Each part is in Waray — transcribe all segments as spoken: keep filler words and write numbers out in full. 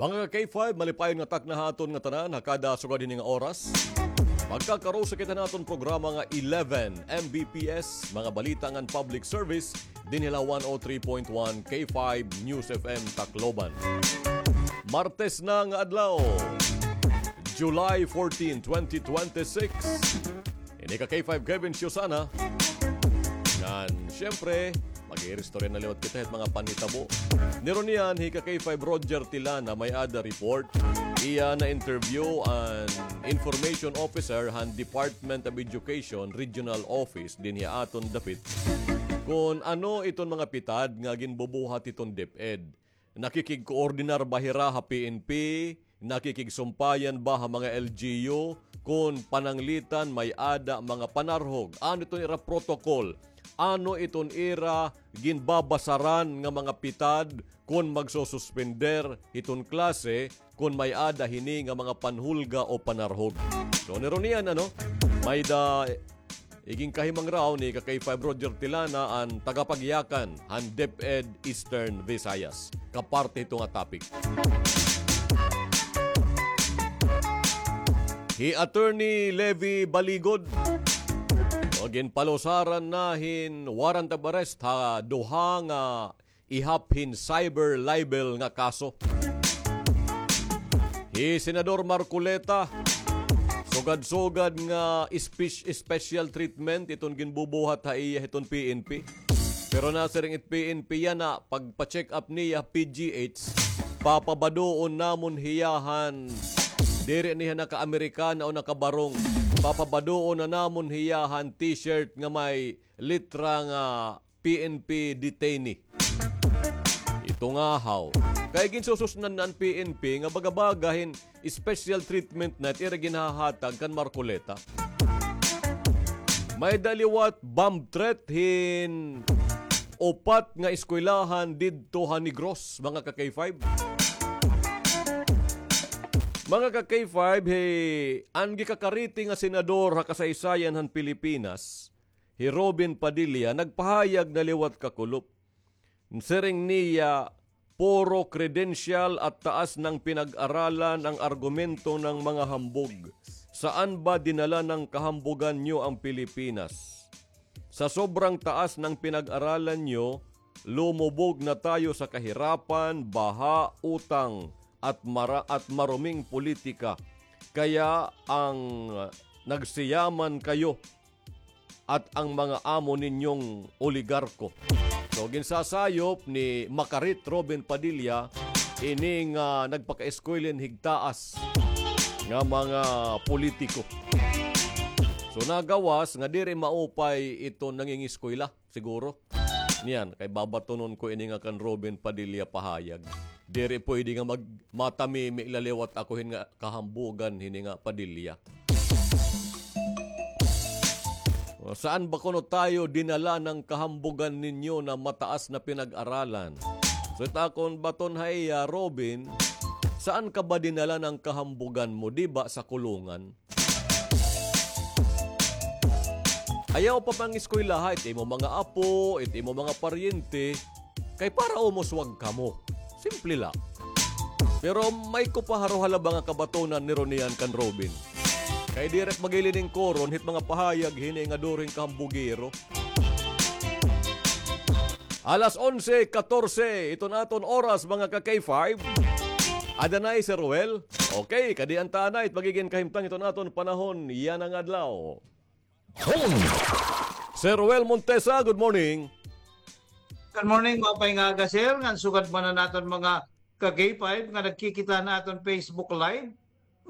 Mga ka-K five, malipayon nga takna ha aton nga tanan ha kada sugad hini nga oras. Magkakarusa kita han aton programa nga eleven M B P S, mga balita ngan public service, dinhi la one oh three point one K five News F M Tacloban. Martes na nga adlaw, July fourteen, twenty twenty-six. Ini ka K five Kevin Siusana. Ngan, siyempre, mag-iiristorya na liwat kita hit mga panhitabo. Nirunian hi ka K five Roger Tilana may-ada report. Iya na-interview an information officer han Department of Education Regional Office dinhi ha aton dapit kon ano iton mga pitad nga ginbubuhat hiton DepEd. Nakikigkoordinar ba hira ha P N P? Nakikigsumpayan ba ha mga L G U? Kon pananglitan may-ada mga panarhog, ano iton ira protocol? Ano iton ira ginbabasaran nga mga pitad kon magsususpender hiton klase kon may-ada hini nga mga panhulga o panarhog? So, nirunian, ano? May-ada Iginkahimangraw ni ka K five Roger Tilana an tagapagyakan han DepEd Eastern Visayas. Kaparte hito nga topic. Hi Attorney Levi Baligod, o, ginpalusaran na hin warrant of arrest ha duha nga ihap hin cyber libel nga kaso. Hi Senador Marcoleta, sugad-sugad nga spec-, special treatment iton ginbubuhat ha iya hiton P N P. Pero nasiring it P N P yana, pagpa-check up niya P G H, papabaduon namon hiya han diri niya naka-Amerikana o nakabarong. Papabaduon na namon hiya han T-shirt nga may litra nga P N P detainee. Ito nga haw. Kay ginsususnan na an P N P nga baga-baga hin special treatment na it ira ginhahatag kan Marcoleta. May-ada liwat bomb threat hin upat nga eskwelahan didto ha Negros, mga ka K five. Mga ka K five, hi, an gikakariti nga senador ha kasaysayan han Pilipinas, hi Robin Padilla nagpahayag na liwat kakulop. Siring niya, puro credential at taas ng pinag-aralan ang argumento ng mga hambog. Saan ba dinala ng kahambugan niyo ang Pilipinas? Sa sobrang taas ng pinag-aralan niyo, lumubog na tayo sa kahirapan, baha, utang, at mara-, at maruming politika. Kaya ang nagsiyaman kayo at ang mga amo ninyong oligarko. So, ginsasayop ni Makarit Robin Padilla ini nga nagpakaeskwela hin higtaas nga mga politiko. So, nagawas nga diri maupay ito nangingiskwela, siguro. Niyan, kay babatunon ko ini nga kan Robin Padilla pahayag. Diri pwede nga mag-, matamimi la liwat ako hin nga kahambugan hini nga Padilla. Saan ba kuno tayo dinala ng kahambugan ninyo na mataas na pinag-aralan? So, it akon baton ha iya, Robin, saan ka ba dinala ng kahambugan mo? Di ba sa kulungan? Ayaw pa pangiskwelaha it imo mga apo, it imo mga paryente, kay para umuswag kamo. Simple la. Pero may ko pa haro halaba nga kabatonan nirunian kan Robin. Kay diri maglilingkoron hit mga pahayag hini nga during kahambugero. Alas onse katorse, iton aton oras, mga ka K five. Ada na hi Sir Ruel? Okay, kadi an ta anay it magigin kahimtang iton aton panahon yana nga adlaw. Sir Ruel Montesa, good morning. Good morning, maupay nga aga, sir. Ngan sugad man an aton mga ka K five nga nagkikita han aton Facebook Live,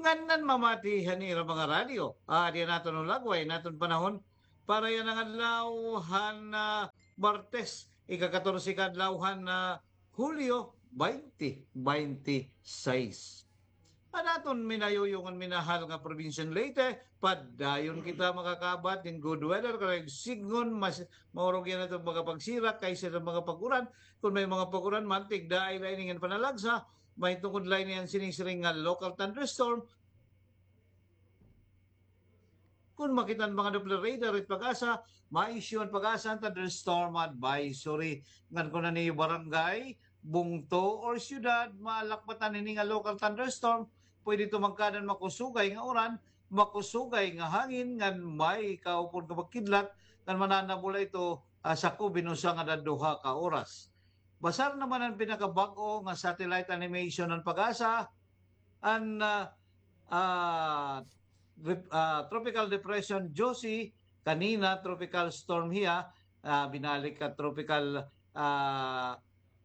ngan nanmamati han ira mga radyo. Ah, adi an aton lagway, an aton panahon para yana nga adlaw han, ah, Martes, ika-katorse ka adlaw han, ah, Hulyo twenty twenty-six. An aton minayuyong ngan minahal nga probinsya han Leyte, padayon kita makakabat hin good weather, kay sidngon mas maurog yana aton mga pagsirak kaysa han mga pag-uran. Kon may mga pag-uran man, tigdaay la ini ngan panalagsa, may tungod la ini han sining-siring nga local thunderstorm. Kon makita han mga Doppler radar it PAGASA, ma-issue an PAGASA hin thunderstorm advisory. Ngan kon an iyo barangay, bungto or syudad, malakbatan hini nga local thunderstorm, pwede ito magkaada hin makusugay nga uran, makusugay nga hangin, ngan may kaupod nga pagkidlat, ngan mananabol ito, ah, sakob hin usa ngan duha ka oras. Basar naman an pinakabag-o nga satellite animation han PAGASA, an, ah, ah, rep-, ah, Tropical Depression Josie, kanina Tropical Storm hiya, ah, binalik ha Tropical, ah,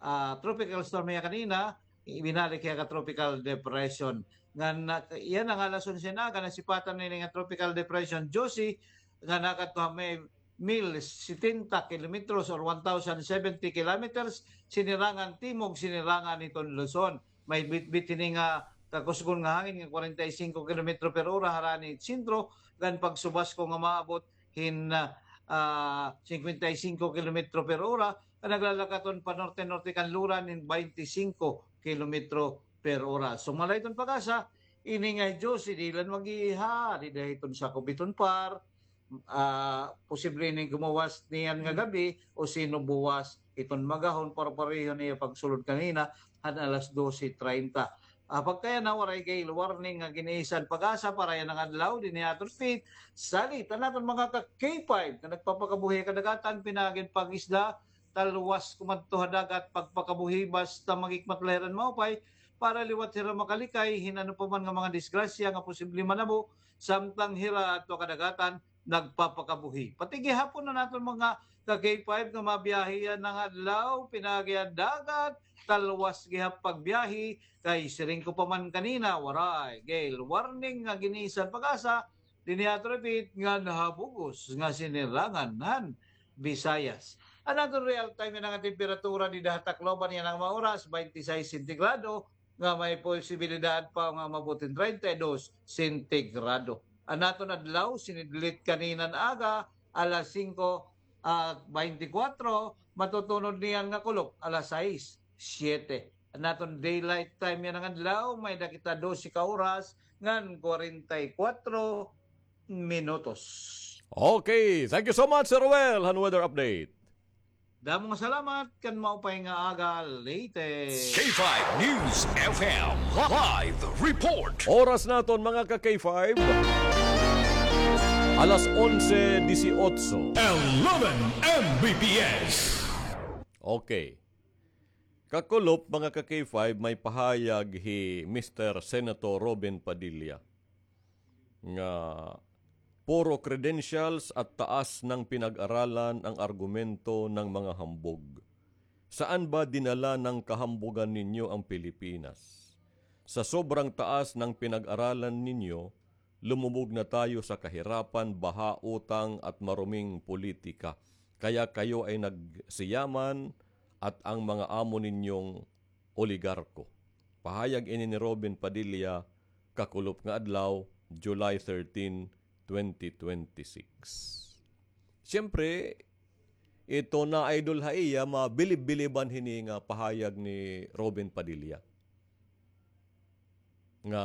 ah, Tropical Storm hiya kanina, ibinalik hiya ka Tropical Depression. Ngan, ah, yana nga alas onse na aga, nasipatan na ini nga Tropical Depression Josie, nga nakadto ha may mil setenta kilometros or one thousand seventy kilometers, sinirangan timog, sinirangan hiton Luzon. May bitbit hini nga kakusgon nga hangin nga kwarenta y singko kilometro per ora harani sentro, ngan pagsubasko nga maabot hin, ah, ah, singkwenta y singko kilometro per ora, ngan naglalakaton pa norte-norte kanluran hin baynte singko kilometro per ora. Sumala hiton PAGASA, ini nga Josie, diri la mag-iha, dida hiton sakob hiton PAR, ah, posible ini nga gumuwas niyan nga gabi o sino buwas hiton magahon, pareho-pareho han iya pagsulod kanina han alas dose treinta. Ah, pagkayana, waray gale warning nga gin-iisyu han PAGASA para yana nga adlaw dinhi ha aton feed. Salit an aton mga ka K five nga nagpapakabuhi ha kadagatan, pinaagi hin pag-isda, talwas kumadto ha dagat, pagpakabuhi basta maghikmat la hira hin maupay para liwat hira makalikay hin ano pa man nga mga disgrasya nga posible manabo samtang hira adto ha kadagatan nagpapakabuhi. Pati gihapon an aton mga ka K five nga mabiyahe yana nga adlaw, pinaagi ha dagat, talwas gihap pagbiyahe, kay siring ko pa man kanina, waray gale warning nga gin-iisyu han PAGASA dinhi ha aton feed ngan ha bug-os nga sinirangan han Visayas. An aton real time yana nga temperatura dida ha Tacloban yana nga mga oras, baynte sais sentigrado, nga may posibilidad pa nga maabot hin treinta y dos sentigrado. An aton adlaw, sinidlit kanina nga aga, alas singko, ah, baynte kwatro, matutunod niyan nga kulop, alas sais, siyete. An aton daylight time yana nga adlaw, may-ada kita dose ka oras ngan kwarenta y kwatro minutos. Okay, thank you so much, Sir Ruel, han weather update. Damo nga salamat, kan maupay nga aga, Leyte. K five News F M live report. Oras naton, mga ka K five, alas onse dieciocho. Eleven M B P S. Okay. Kakulop, mga ka K five, may pahayag hi Mister Senator Robin Padilla nga puro credentials at taas ng pinag-aralan ang argumento ng mga hambog. Saan ba dinala ng kahambugan ninyo ang Pilipinas? Sa sobrang taas ng pinag-aralan ninyo, lumubog na tayo sa kahirapan, baha, utang at maruming politika. Kaya kayo ay nagsiyaman at ang mga amo ninyong oligarko. Pahayag ini ni Robin Padilla, kakulop nga adlaw, July thirteen, twenty twenty-six. Siyempre, ito na idol ha iya, mabilib-biliban hini nga pahayag ni Robin Padilla. Nga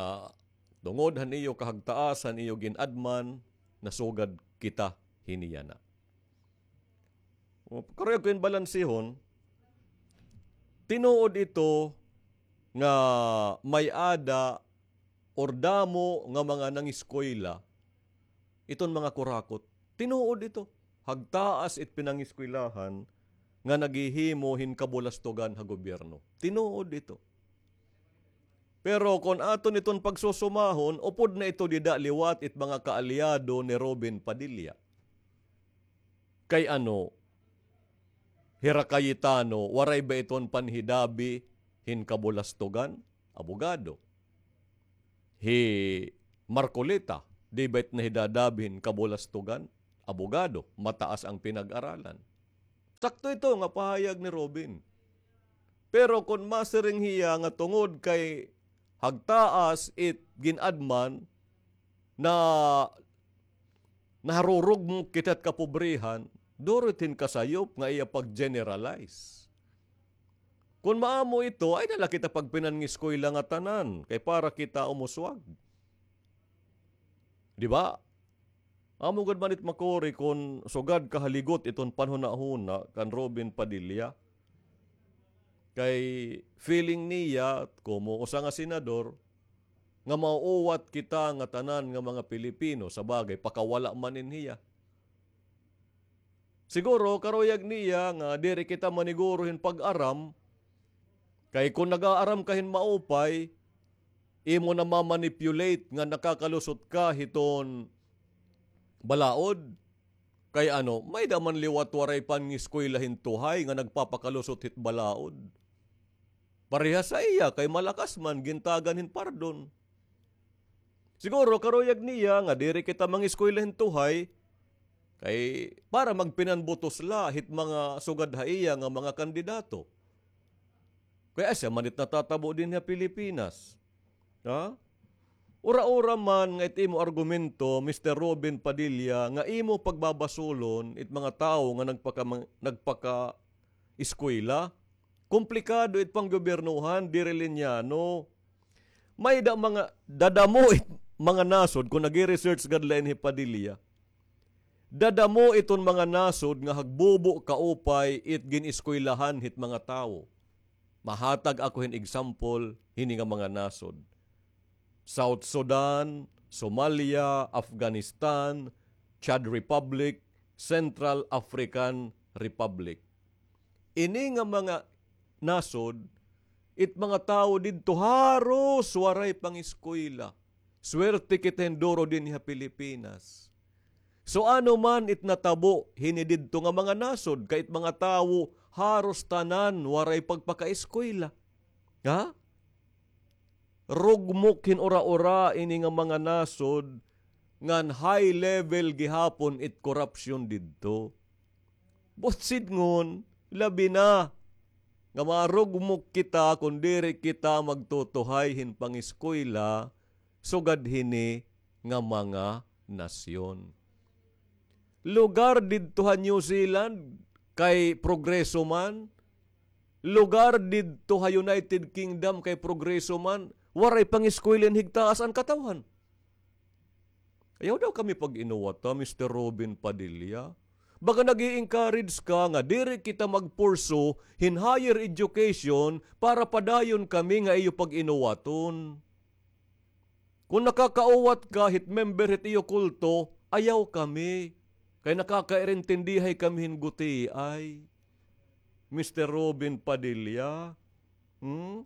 tungod han iyo kahagtaas, han iyo gin-adman, nasugad kita hini yana. Karuyag ko in balansihon, tinuod ito nga may-ada or damo nga mga nangiskwela iton mga kurakot. Tinuod ito. Hagtaas it pinangiskwelahan nga naghihimo hin kabulastogan ha gobyerno. Tinuod ito. Pero kon aton iton pagsusumahon, upod na ito dida liwat it mga kaalyado ni Robin Padilla. Kay ano, hira Cayetano, waray ba iton panhidabi hin kabulastogan? Abogado. Hi Marcoleta, di ba it nahidadabi hin kabulastogan? Abogado, mataas ang pinag-aralan. Sakto ito nga pahayag ni Robin. Pero kon masiring hiya nga tungod kay hagtaas it gin-adman na naharurugmok kita hit kapobrehan, duro it hin kasayop nga iya pag-generalize. Kon maamo ito, ay na la kita pagpinangiskwela ngatanan, kay para kita umuswag. Di ba? Amo gud man it makuri kon sugad kahaligot iton panhunahuna kan Robin Padilla. Kay feeling niya, komo usa nga senador, nga mauuwat kita ngatanan nga mga Pilipino, sa bagay, pakawala man in hiya. Siguro, karuyag niya nga diri kita maniguro hin pag-aram, kay kon nag-aaram ka hin maupay, imo na ma-manipulate nga nakakalusot ka hiton balaod. Kay ano, may-ada man liwat waray pangiskwela hin tuhay nga nagpapakalusot hit balaod. Parehas ha iya, kay malakas man, gintagan hin pardon. Siguro, karuyag niya nga diri kita mangiskwela hin tuhay, kay para magpinanbutos la hit mga sugad ha iya nga mga kandidato. Kay asya man it natatabo dinhi ha Pilipinas. Ha? Ura-ura man nga it imo argumento, Mister Robin Padilla, nga imo pagbabasulon it mga tawo nga nagpaka-, nagpaka-eskwela. Komplikado it panggobyernohan, diri linyano. May-ada mga, dadamo it mga nasod, kon nag-research gad la ini hi Padilla. Dadamo iton mga nasod nga hagbubo kaupay it gin-eskwelahan hit mga tawo. Mahatag ako hin example hini nga mga nasod. South Sudan, Somalia, Afghanistan, Chad Republic, Central African Republic. Ini nga mga nasod, it mga tawo didto haros waray pangiskwela. Swerte kita hin duro dinhi ha Pilipinas. So, ano man it natabo hini didto nga mga nasod, kay it mga tawo haros tanan waray pagpakaeskwela. Ha? Rugmok hin ura-ura ini nga mga nasod ngan high level gihapon it korapsyon didto. Buot sidngon, labi na nga marugmok kita kon diri kita magtutuhay hin pangiskwela sugad hini nga mga nasyon. Lugar didto ha New Zealand kay progreso man, lugar didto ha United Kingdom kay progreso man, waray pangiskwela hin higtaas an katawhan. Ayaw daw kami pag-inuwata, Mister Robin Padilla. Baga nag-i-encourage ka nga diri kita mag-pursue hin higher education para padayon kami nga iyo pag-inuwaton. Kon nakakauwat ka hit member hit iyo kulto, ayaw kami. Kay nakakairintindihay kami hin gutiay. Mister Robin Padilla, hmm?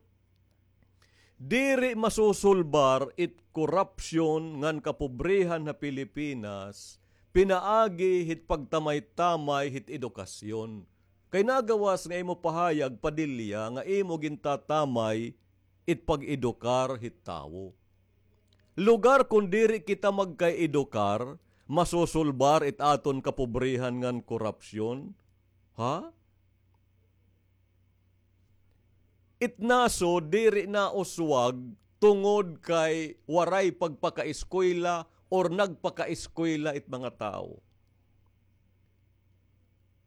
Diri masusulbar it korapsyon ngan kapobrehan ha Pilipinas, pinaagi hit pagtamay-tamay hit edukasyon. Kay nagawas nga imo pahayag, Padilla, nga imo gintatamay it pag-edukar hit tawo. Lugar kon diri kita magkaedukar, masusulbar it aton kapobrehan ngan korapsyon? Ha? It nasod diri nauswag tungod kay waray pagpakaeskwela or nagpakaeskwela it mga tawo.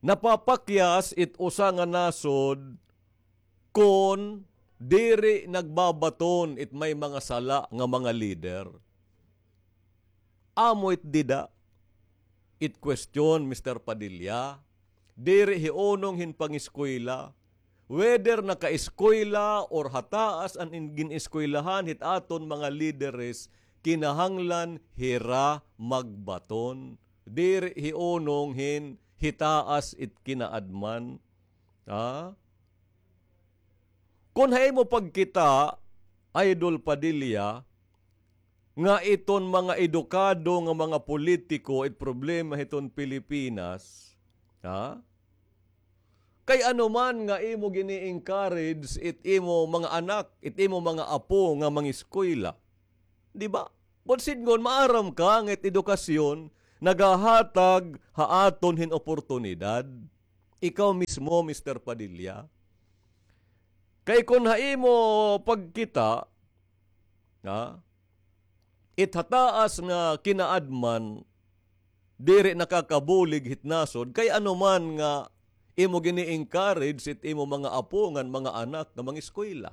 Napapakyas it usa nga nasod kon diri nagbabaton it may mga sala nga mga lider. Amo it dida. It question, Mister Padilla, diri hi unong hin pangiskwela. Whether nakaeskwela or hataas an in-, gin-eskwelahan hit aton mga lideres, kinahanglan hira magbaton. Diri hi unong hin hitaas it kinaadman. Ha? Kon ha imo pagkita, Idol Padilla, nga iton mga edukado nga mga politiko it problema hiton Pilipinas, ha? Kay ano man nga imo gini-encourage it imo mga anak, it imo mga apo nga mangiskwela. Di ba? Buot sidngon, maaram ka nga it edukasyon nagahatag ha aton hin oportunidad. Ikaw mismo, Mister Padilla. Kay kon ha imo pagkita, ha, it hataas nga kinaadman, diri nakakabulig hit nasod, kay ano man nga imo gini-encourage it imo mga apo ngan mga anak nga mangiskwela.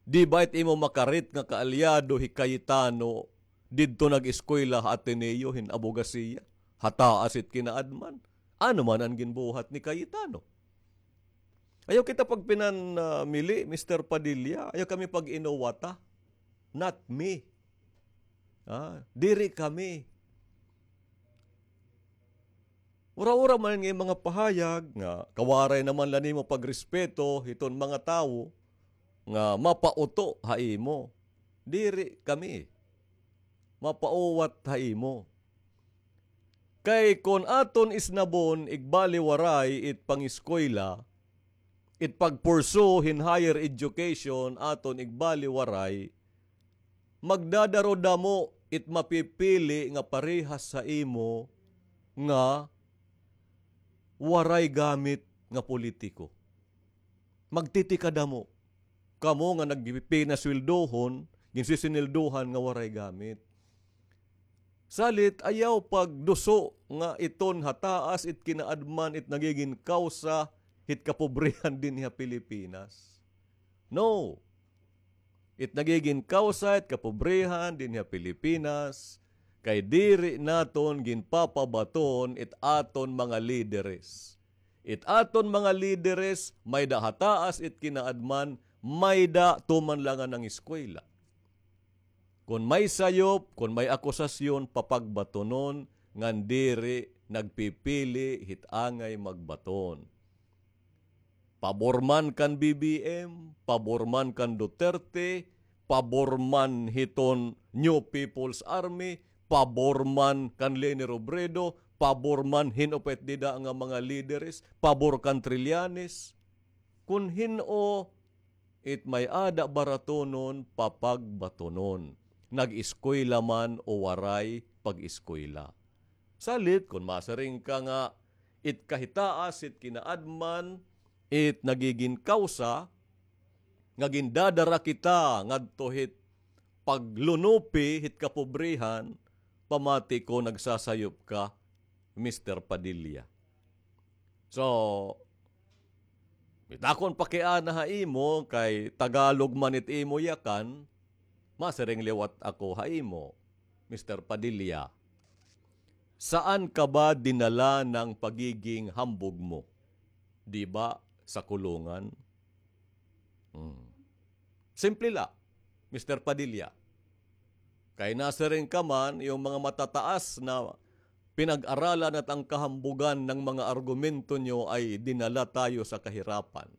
Di ba it imo makarit nga kaalyado hi Cayetano didto nag-eskwela ha Ateneo hin Abogasiya? Hataas it kinaadman. Ano man an ginbuhat ni Cayetano? Ayaw kita pagpinanmili, Mister Padilla. Ayaw kami pag-inuwata. Not me. Ah, diri kami. Ura-ura man nga mga pahayag nga kawaray naman la nimo pagrespeto hiton mga tawo nga mapauto ha imo. Diri kami mapauwat ha imo. Kay kon aton isnabon igbaliwaray it pangiskwela, it pagpursu hin higher education aton igbaliwaray, magdadaro damo it mapipili nga parehas sa imo nga waray gamit nga politiko. Magtitikadamo. Kamo nga nagpinasweldohon, ginsisineldohan nga waray gamit. Salit, ayaw pagduso nga iton ha taas it kinaadman it nagigin kawsa hit kapobrehan dinhi ha Pilipinas. No. It nagigin kawsa it kapobrehan dinhi ha Pilipinas kay diri naton ginpapabaton it aton mga lideres. It aton mga lideres, mayda ha taas it kinaadman, mayda tuman la nga nangiskwela. Kon may sayop, kon may akusasyon, papagbatonon, ngan diri nagpipili hit angay magbaton. Pabor man kan B B M, pabor man kan Duterte, pabor man hiton New People's Army, pabor man kan Leni Robredo, pabor man hin-o pa it dida nga mga lideres, pabor kan Trillanes. Kun hin-o it may-ada baratonon, papagbatonon. Nag-eskwela man o waray pag-eskwela. Salit, kon masiring ka nga it kahitaas, it kinaadman, it nagigin kawsa, nga gindadara kita ngadto hit paglunupi hit kapobrehan, pamati ko nagsasayop ka, Mister Padilla. So, it akon pakiana ha imo, kay Tagalog man it imo yakan, masiring liwat ako ha imo, Mister Padilla. Saan ka ba dinala ng pagiging hambog mo? Di ba sa kulungan? Hmm. Simple la, Mister Padilla. Kay nasiring ka man, yung mga matataas na pinag-aralan at ang kahambugan ng mga argumento nyo ay dinala tayo sa kahirapan.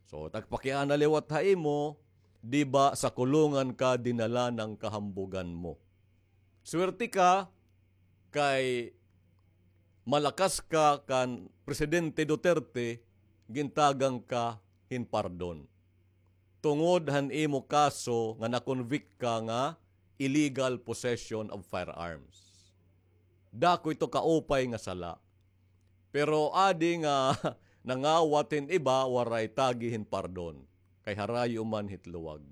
So, tagpakiana liwat ha imo, di ba sa kulungan ka dinala ng kahambugan mo? Swerte ka, kay malakas ka kan Presidente Duterte, gintagan ka hin pardon. Tungod han imo kaso nga na-convict ka nga illegal possession of firearms. Dako ito kaupay nga sala. Pero adi nga nangawat hin iba, waray tagi hin pardon. Kay harayo man hit luwag.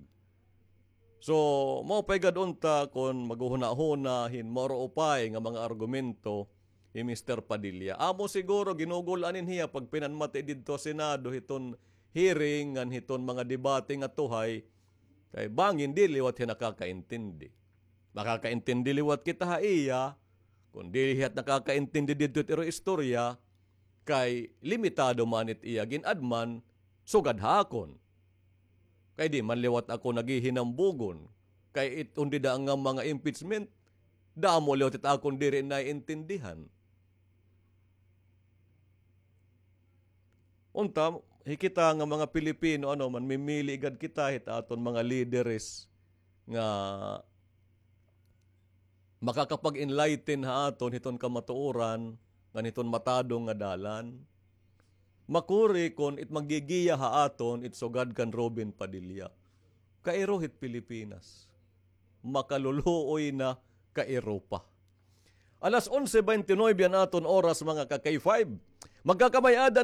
So, mao pay gad unta kon maghuhunahuna hin mauro-upay nga mga argumento hi Mister Padilla. Amo siguro ginugul-an hin hiya pagpinanmati didto ha Senado hiton hearing ngan hiton mga debate nga tuhay. Kay bangin dili liwat hiya nakakaintindi. Makakaintindi liwat kita ha iya, kon dili hiya nakakaintindi didto it iro istorya, kay limitado man it iya gin-adman, sugad ha akon. Kay di man liwat ako naghihinambugon. Kay it-, on dida nga mga impeachment, damo liwat it akon diri naiintindihan. Unta, hi kita nga mga Pilipino, ano, manmimili gad kita hit aton mga lideres nga makakapag-enlighten ha aton hiton kamatuoran ngan hiton matadong nga dalan. Makuri kon it maggigiya ha aton it sugad kan Robin Padilla. Kairo hit Pilipinas. Makaluluoy na kairo pa. Alas onse bente nuebe an aton oras, mga ka-K five. Magkakamay-ada na